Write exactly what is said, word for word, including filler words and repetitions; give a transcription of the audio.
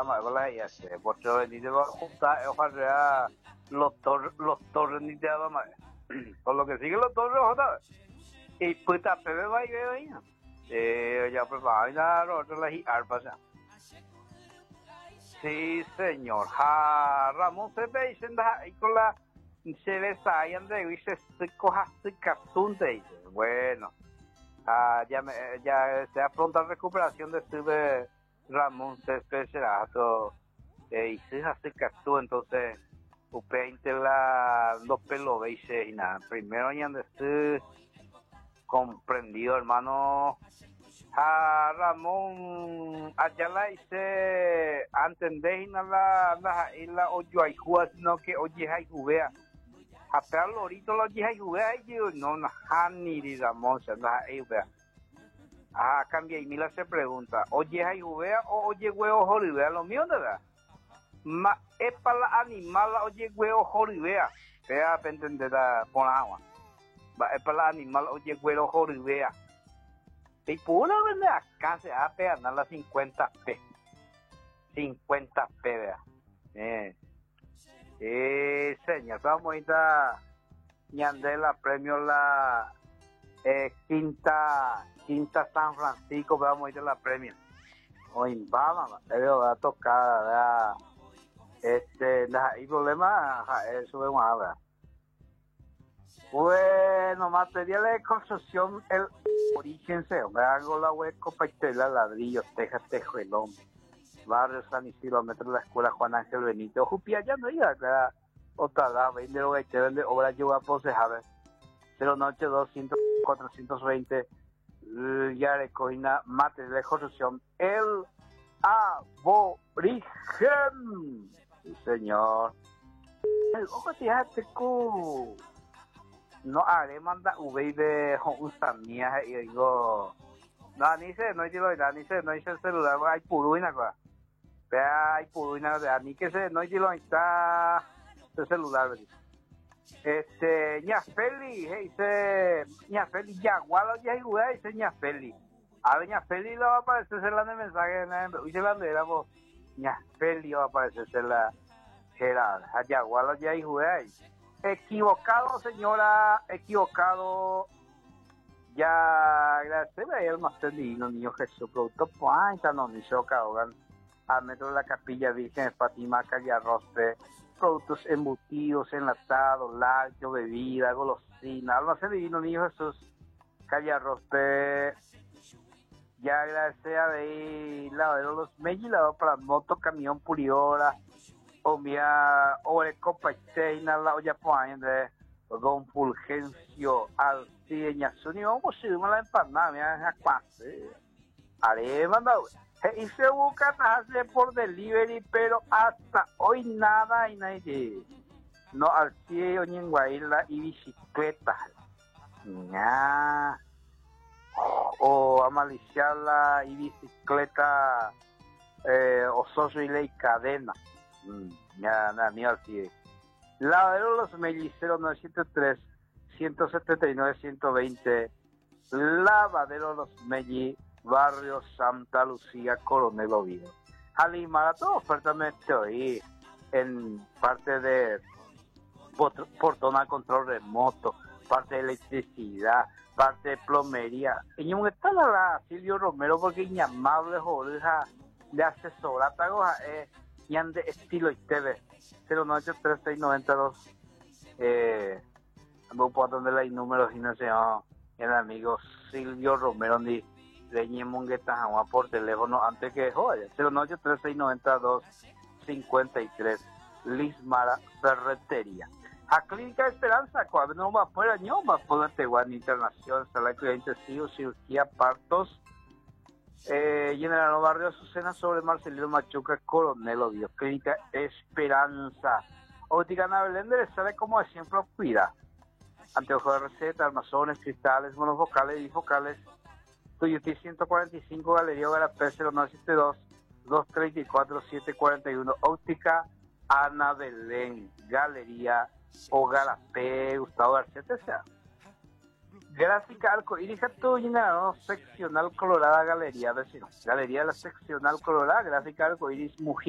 La ya se porque venir va a juntar ojalá los torres los torres ni te más. Por lo que sigue los torres ojalá. Y puta pepe va y veo ahí. Eh, ya pues va a ir otro la arpa ya. Sí, señor. Ja, Ramón se ve y ahí con la se ve ahí ande dice se coja se catunte. Bueno. Ah, ya me, ya sea pronta recuperación de sube Ramón Céspedes será eh, y se hace castú, entonces usted la dos pelos veis y nada primero ya de comprendido hermano a Ramón allá la hice entendéis la la la oyo aijúa sino que oye aijubea a pegar lorito los oye aijubea y yo no no ni Ramón se anda aijubea. Ah, cambia y Mila se pregunta, oye aijubea o oye huevo joribea, lo mío verdad. Ma es para la animal oye huevo joribea, vea para entender la por agua. Va es para la animal oye huevo joribea. Y pura vende acá se hace andar la cincuenta P. cincuenta P, vea. Eh. Eh, señor, vamos a ir a ñandela premio la eh, quinta Quinta San Francisco, vamos a ir a la premio. Hoy vamos, va a tocar, ¿verdad? Este, hay problema, eso es una verdad. Bueno, materiales de construcción, el origen se hago la hueco, paitela, ladrillo, tejas, tejuelón, barrio San Isidro, metro de la escuela Juan Ángel Benito, Jupia, ya no iba, claro, otra la, vende, vende, obra, yo a posejar, cero noche, doscientos, cuatrocientos veinte. Ya le cogina material de construcción el aborigen. Sí, señor. El ojo te cu no haré manda v de usamia y digo no ni se no digo ni se no hice el celular hay puruina cosa hay puruina de ni que se no digo está el celular Este, ña Feli, dice, ña Feli, yagualo, ya igual, dice ña Feli. A ver, ña Feli lo va a aparecer la de mensaje, dice la bandera, pues, ña Feli va a aparecer la Gerard, yagualo, ya igual. Equivocado, señora, equivocado. Ya, gracias, el máster divino, niño Jesús, producto, pues, no, ni choca, hogan. A metro de la Capilla Virgen de Fátima, calle Arrospe, productos embutidos, enlatados, lácteos, bebida, golosina, almacén divino, niño Jesús, calle Arrospe. Ya agradece a de lavadero los mellilados para moto, camión, pulidora, o mía, orecopa, la olla de Don Fulgencio Alcideña, Zuni, vamos a ir a la empanada, mira, haré mandado. Y se busca hacer por delivery, pero hasta hoy nada y nadie. No al cielo ni en Guaila y bicicleta. Ña. O amaliciarla y bicicleta eh, o socio y ley cadena. Ya, nada, ni al cielo. Lavadero Los Melliceros nueve siete tres, ciento setenta y nueve, ciento veinte. Lavadero Los Melli, Barrio Santa Lucía, Coronel Oviedo. Alimara, todo oferta me estoy en parte de portona control remoto, parte de electricidad, parte de plomería. Y un está la Silvio Romero porque inamable joder de asesora eh y ande estilo y T V cero nueve ocho tres seis noventa y dos. Eh, no puedo atender los números y no sé, el amigo Silvio Romero ni de Mongueta por teléfono antes que joder cero nueve ocho tres seis noventa y dos cincuenta y tres. Lismara Ferretería. A Clínica Esperanza, cuando no va fuera, no va poder teguar internación, sala de cuidado intensivo, cirugía, partos. Eh, General Barrio Azucena sobre Marcelino Machuca, Coronel Oviedo. Clínica Esperanza. Óptica Ana Belén de sale como siempre cuida. Anteojos de receta, armazones, cristales, monofocales y bifocales. Tuyutí ciento cuarenta y cinco, Galería Garapé, cero nueve siete dos, dos tres cuatro, siete cuatro uno. Óptica Ana Belén, Galería o Garapé, Gustavo García T C A. Gráfica Arcoíris, ¿no? Seccional Colorada, Galería, vecino. Galería de la Seccional Colorada, Gráfica Arcoíris, Mujica.